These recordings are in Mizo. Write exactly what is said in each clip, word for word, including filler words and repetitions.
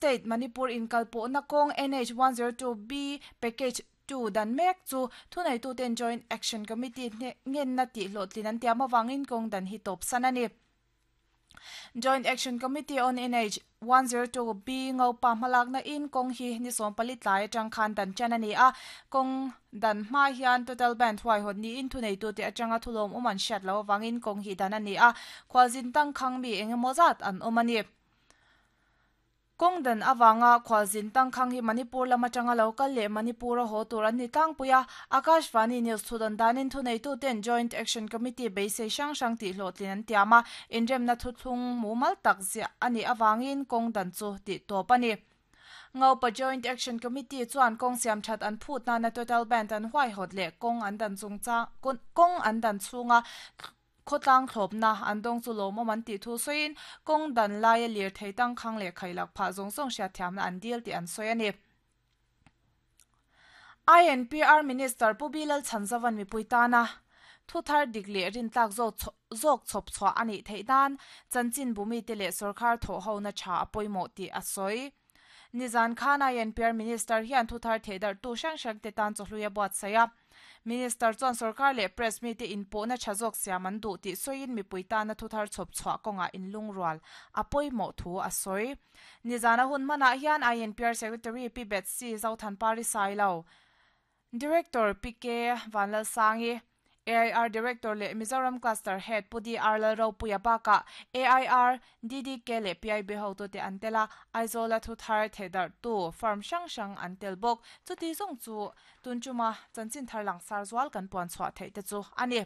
State Manipur inkalpawhna kawng N H one zero two B Package two dan mek chu thuneituten Joint Action Committee ngenna tih hlawhtlin an tiam avangin kawng dan hi tawp san a ni. Joint Action Committee on N H one zero two B Ngopa hmalakna in kawng hi ni sawm pali tlai atang khan dan chan a ni a, kawng dan hma hian total ban huaihawt niin thuneitute atanga thulawm awm an hriat lo avangin kawng hi dan a ni a, khualzin tangkhang mi engemaw zat an awm a ni. Kawng dan awanga khualzin tangkhang hi Manipur lam atanga local leh Manipur a haw tur an ni tlangpuia Akashvani News thudan danin thuneituten Joint Action Committee beisei hrang hrang tih hlawhtlin an tiam a, inremna thuthlung mumal tak ziah ani awangin kawng dan chu tih tawp a ni. Ngopa Joint Action Committee chuan kawng siam that an phut na na total ban an huaihawt leh kawng an dan chungcha kawng an dan chhunga khawtlang thlawpna an dawng chu lawmawm an tih thu sawiin kawng dan laia lir thei tangkhang leh khailak phah zawng zawng hriat thiamna an dil tih an sawi a ni. I N P R Minister Pu Bilal Chhanzavan mipui tana thu thar dik leh rin tlak zawk zawk chhawp chhuah ani theih nan chanchin bumi te leh sarkar thaw ho na tha a pawimawh tih a sawi. Nizan Khan I N P R Minister hian thu thar theidar tu hrang hrang te tan chawhluia buat saia. Minister chuan sarkar leh press mi te inpawhna tha zawk siam an duh tih sawiin mipui tana thu thar chhawp chhuah kawnga inlungrual a pawimawh thu a sawi. Nizana hun hmanah hian I N P R Secretary P Betsy Zothanpari Sailo, Director P K Vanlal Sangi, A I R Director leh Mizoram Cluster Head Pu D R Lalropuia baka A I R D D K leh P I B ho tu te an tela Aizawl thu thar theidar tu farm hrang hrang an tel bawk chuti zawng chu tunchuma chanchin thar lang sar zual kan puan chhuah theih te chu ani.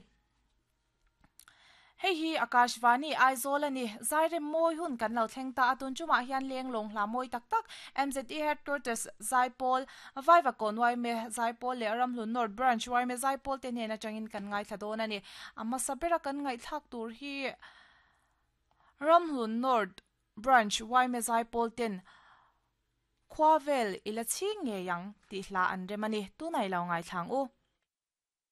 Hei hi Akashvani Aizawl ani zairem mawi hun kan lo thleng ta a tunchuma hian leng lawng hla mawi tak tak M Z E Headquarters Zaipawl Vaiva Kawn Y M A Zaipawl leh Ramhlun North Branch Y M A Zaipawl te hnen atangin kan ngai thla dawn ani. Amma sabera kan ngai thlak tur hi Ramhlun North Branch Y M A Zaipawl ten Khwavel ila ching nge yang ti hla an remani tunai lo ngai thlang u.